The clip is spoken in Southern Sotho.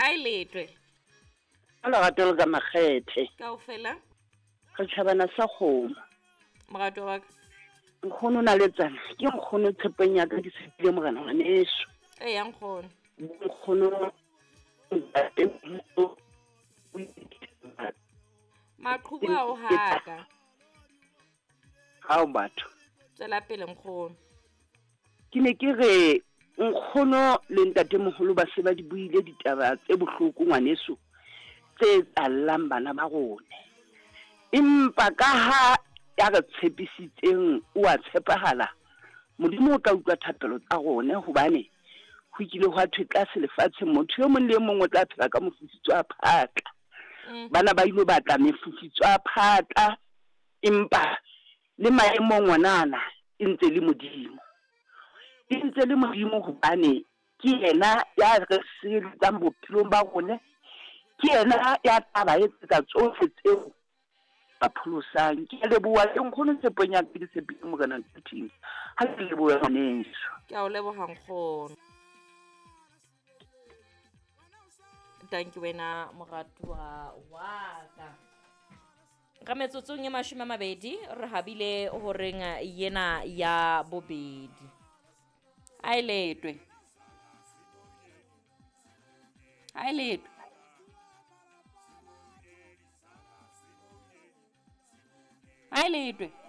A e letwe. Ka lerato le ka makgethe. Kaofela. Re tjhabana sa kgomo. Morato wa ka. Nkgono na le tsana. Ke nkgono tshepong ya ka ke tshepile morena ngwaneso. Ee ya nkgono. Nkgono ntate Maqhubu a o haka. Hao batho. Tswela pele nkgono. Ke ne ke re nkgono le ntatemoholo ba se ba di buile ditaba tse bohloko ngwaneso tse tsallang bana ba rone. Empa ka ha ya re tshepisitseng o a tshepahala, Modimo o tla utlwa thapelo tsa rone hobane ho kile hwa thwe tlase lefatsheng motho e mong le e mong o tla phela ka mofufutso wa phatla. Bana ba ilo batla mefufutso ya phatla empa le maemong onana e ntse le Modimo. E ntse le Modimo hobane ke yena ya re sireletsang bophelong ba rona, ke yena ya tla ba etsetsa tsohle tseo ba pholosang. Ke a leboha ke nkgono tshepong ya ka ke tshepile Morena Ntothing. Ha ke lebohe ngwaneso. Ke a o leboha nkgono. Thank you wena moratuwa wa ka. Ka metsotsong e 20 re habile horeng yena ya bobedi. A e letwe. A e letwe. A e letwe.